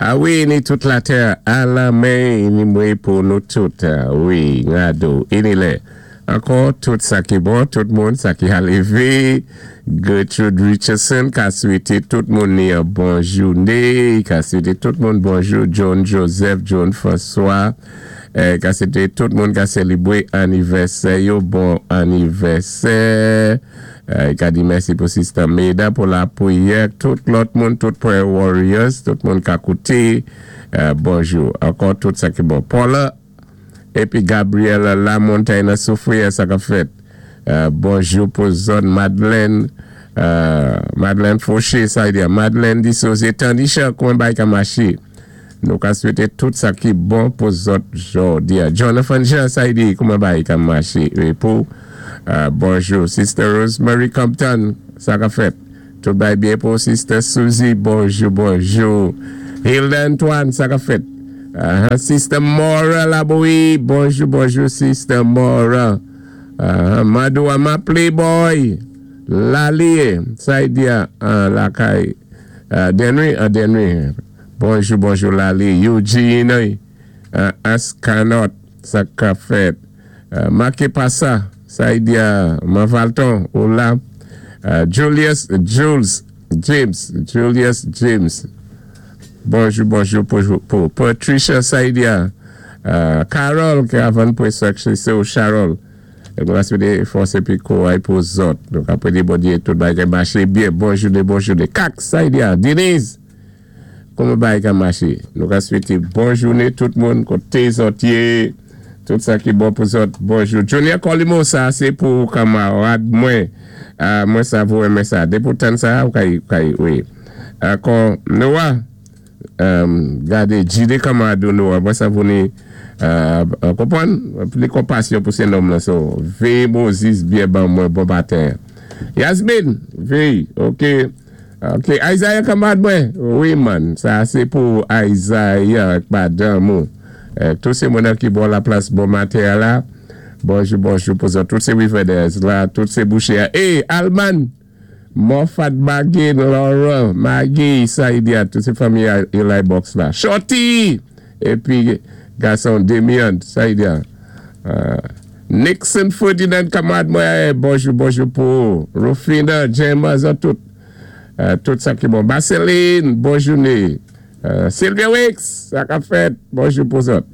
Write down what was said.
A wi, ni tout latè a lanmè, ni mwen pou nou tout. Wi, ngado, ini lè. Ankò, tout sa ki bon, tout moun sa ki alévé. Gertrude Richardson ka swété tout moun ni yon bon jouné, ka swété tout moun bonjou, John Joseph, John François, ka swété tout moun ka sélébwé anivèsè yo, bon anivèsè. Ka di mèsi pou Sister Meda pou lapwiyè, tout lòt moun, tout prayer warriors, tout moun ka kouté, bonjou. Ankò tout sa ki bon. Paula épi Gabriel Lamontagne nan Soufrière, sa ka fèt. Bonjou pou zòn Madeleine, Madeleine Fauché, sa di Madeleine di Soze Tandisha, kouman bay ka maché. Nou ka swété tout sa ki bon pou zòt jòdi. Jonathan Jean, sa di kouman bay ka maché. É pou bonjou Sister Rosemary Compton, sa ka fèt. Tout bay byen pou Sister Suzy, bonjou, bonjou. Hilda Antoine, sa ka fèt. Sister Mora Laboui, bonjou, bonjou Sister Mora. Madou Ama Playboy, Lalie, sa di lakay Denry, Denry. Bonjou, bonjou Lali. Eugene, Askanot, sa ka fèt. Make Passa, sa di Manvalton, ou la. Julius, Jules, James, Julius James. Bonjou, bonjou pou Patricia Saidia. Carol, ki avan pou se ou Charol. Nou va swété fòs épi kouray pou zòt. Nou ka pwédé Bondyé tout bagay maché byen. Bonjou de bonjou de Kak Saidia. Denise. Kouman bagay ka maché? Nou ka swété bon jouné tout moun koté zòt yé. Tout sa ki bon pou zòt. Bonjou. Junior Colimo, sa sé pou kanmarad mwen. Mwen sav ou renmen sa. Dépi ou tann sa, ou kay wi. Ankò Noah. Gadé Jide kanmarad ou Noah. Mwen sav ou ni konpwann. Pli konpasyon pou sé nonm lan. So, véyé Moses byen ban mwen bon maten. Yasmine, véyé. Ok. Ok, Isaiah kanmarad mwen. Wi man, sa sé pou Isaiah ak madanm ou. Tout sé moun ki bò la plas bon maten la. Bonjou, bonjou pou zòt. Tout sé Riverdales la, tout sé Boucher. Eh, Alman! Moffat Bagin, Laura, Maggie, Saidia, tout sé fanmi Eli Box la. Shorty! Épi gason Demian, Saidia. Nixon Ferdinand kanmarad mwen, bonjou, bonjou pou Rufina, Gemma, zòt tout. Tout sa ki bon. Baseline, bon jouné. Sylvia Wicks, sa ka fèt, bonjou pou zòt.